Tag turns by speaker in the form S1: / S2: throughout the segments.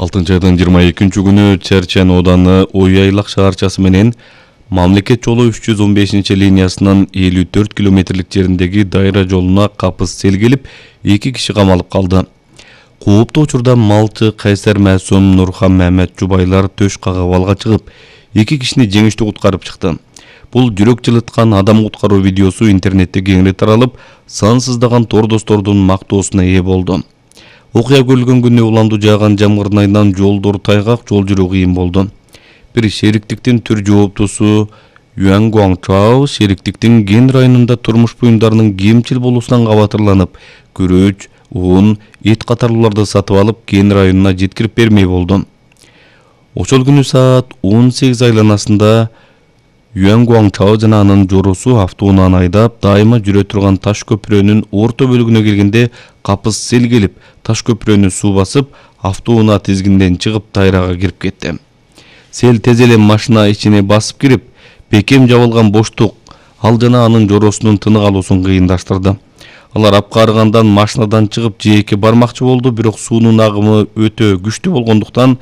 S1: 6-айдын 22-күнү Черчен ооданы Оюайлак шаарчасы менен мамлекет жолу 315-линиясынын 54 километрлик жериндеги дайра жолуна капыс сел келип, 2 киши камалып калды. Кооптуу учурда малчы Кайсар Маасум, Нурхан Мамед Жубайлар төш кагып алга чыгып, 2 кишини жеңиштүү куткарып чыкты. Бул жүрөк жылыткан адам куткаруу видеосу интернетте кеңири таралып, сансыздаган тордостордун мактоосуна ээ болду. Окуя көрүлгөн күнү уланду жааган жамгырдын айынан жолдор тайгак, жол жүрүү кыйын болду. Бир шериктиктин түр жооптусу Юан Гуаңчао шериктиктин Ген районунда турмуш буюмдарынын кемчил болуусунан кабатырланып, күрөч, un, эт катарлууларды сатып алып, Ген районуна жеткирип бермей болду. Ошол күнү саат 18 айланасында Юан Гуаңчао жана анын жоорусу автоунааны айдап, дайыма жүрө турган таш көпүрөнүн орто бөлүгүнө келгенде капыс сел келип, таш көпүрөнү суу басып, автоунаа тизгинден чыгып дайрага кирип кетти. Сел тез эле машина ичине басып кирип, бекем жабылган боштук ал жана анын жооросунун тынык алуусун кыйындаштырды. Алар апкарыгандан машинадан чыгып жээкке бармакчы болду, бирок суунун агымы өтө күчтүү болгондуктан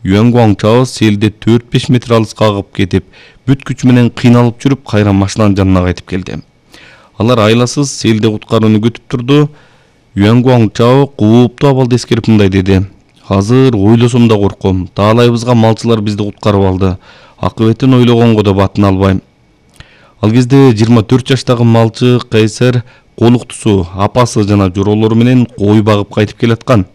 S1: Юан Гуаңчао селде 4-5 метр алыска агып кетип, бүт күч менен кыйналып жүрүп, кайра машинанын жанына кайтып келди. Алар айласыз селде куткарууну күтүп турду. Юан Гуаңчао кооптуу абалды эскерип мындай деди: "Азыр ойлосом да корком. Таалайыбызга малчылар бизди куткарып алды. Акыбетин ойлогонго да батын албайм." Ал кезде 24 жаштагы малчы Кайсар колуктусу, апасы жана жороолору менен кой багып кайтып келаткан.